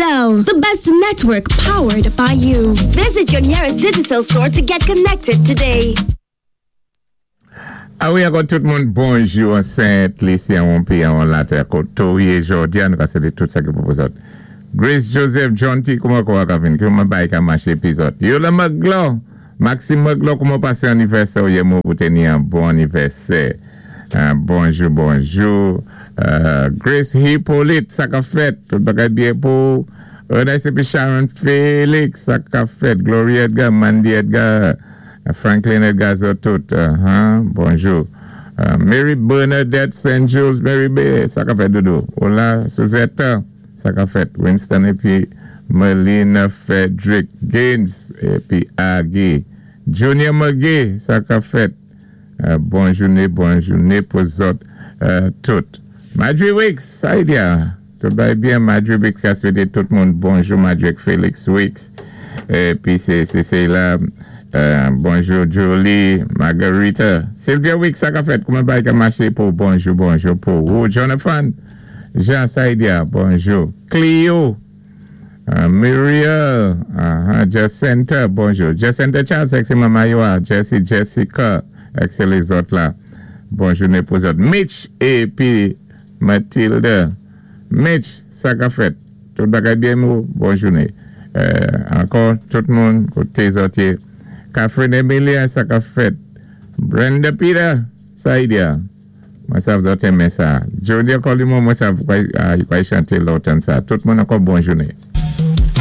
Digicel, the best network powered by you. Visit your nearest Digicel store to get connected today. A wi, ankò tout moun bonjou an Sent Lisi, an peyi an latè koto yé jòdi-a, nou ka swété tout sa ki pou zòt. Grace Joseph, John T, kouman kou a ka vin, kouman bay ka maché pi zòt. Yola Maglo, Maxime Maglo, kouman pasé anivèsè ou yé mou pou téni an bon anivèsè. Bonjou, bonjou. Grace Hippolyte, sa ka fèt, tout bagay byen pou. Ernest épi Sharon Félix, sa ka fèt. Gloria Edgar, Mandy Edgar, Franklin Edgar tout. Bonjou. Mary Bernadette St. Jules, Mary B, sa ka fèt doudou. Hola, Suzette, sa ka fèt. Winston épi Melina Frederick Gaines épi Aggie. Junior McGee, sa ka fèt. Bon jouné, bon jouné pou zòt tout. Madry Wicks, sa y di-a? Tout bay byen, Madry Wicks ka swété tout moun bonjou, Madry Felix Wicks. Épi sé la, bonjou Julie, Margarita. Sylvia Wicks, sa ka fèt, kouman bay ka maché pou bonjou, bonjou pou ou. Jonathan, Jean, sa y di-a, bonjou. Clio, Muriel, Jacinta, bonjou. Jacinta Charles, èk sé manman yo a. Jesse, Jessica, èk sé lézòt la. Bon jouné pou zòt. Mitch épi Mathilde. Mitch, sa ka fèt? Tout bagay byen mou? Bon jouné. Ankò, tout moun, koté zòt yé. Catherine Emilia, sa ka fèt? Brenda Peter, sa y di-a? Mwen sav zòt enmen sa. Junior Colimon, mwen sav kwa chanté lòtan sa. Tout moun ankò bon jouné.